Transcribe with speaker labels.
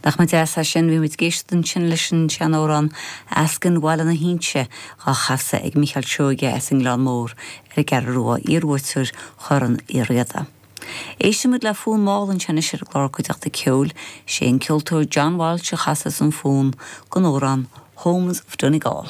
Speaker 1: Nach mba deas é sin? Bhí muid ag éisteacht ansin leis an seanamhrán Eascann Bhaile na hInse dhá chasadh ag Mícheál Seoige as an nGleann Mór ar an gCeathrú Rua, iarbhuaiteoir Chorn Uí Riada. Éistfidh muid le fonn mall ansin anois ar an gclár Cuideachta Ceoil. Sé an ceoltóir John Walsh a chasas an fonn don amhrán Homes of Donegal.